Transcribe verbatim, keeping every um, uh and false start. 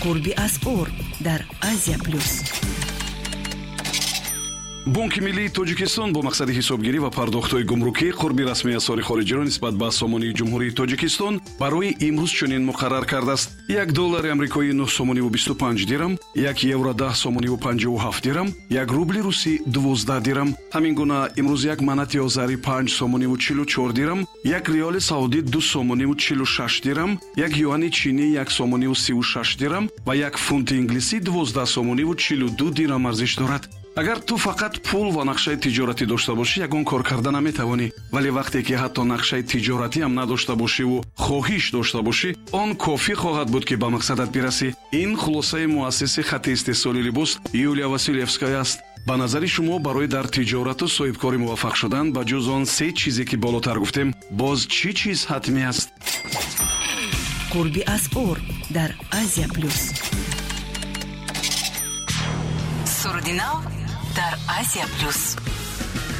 Қурби асъор дар Азия Плюс. Бонки миллии Тоҷикистон бо мақсади ҳисобгирӣ ва пардохтҳои гумрукӣ қурби расмии асъори хориҷиро нисбат ба сомонии Ҷумҳурии Тоҷикистон барои имрӯз чунин муқаррар кардааст: як доллари амрикоӣ нӯҳ сомониву бисту панҷ дирам, як евро даҳ сомониву панҷоҳу ҳафт дирам, як рубли русӣ дувоздаҳ дирам. Ҳамин гуна имрӯз як манати озарӣ панҷ сомониву чилу чор дирам, як риёли саудӣ ду сомониву чилу шаш дирам, як юани чинӣ як сомониву сиву шаш дирам ва як фунти инглисӣ дувоздаҳ сомониву чилу ду дирам арзиш дорад. Агар ту фақат пул ва нақшаи тиҷоратӣ дошта бошӣ, ягон кор карда наметавонӣ. Вале вақте ки ҳатто нақшаи тиҷоратӣ ҳам надошта бошиву хоҳиш дошта бошӣ, он кофӣ хоҳад буд, ки ба мақсадат бирасӣ. Ин хулосаи муассиси хатти истеҳсоли либос Юлия Василевская аст. Ба назари шумо, барои дар тиҷорату соҳибкорӣ муваффақ шудан, ба ҷуз он се чизе, ки болотар гуфтем, боз чӣ чиз ҳатмӣ аст? Қурби асъор дар Азия Плюс. Суруди нав дар Азия Плюс.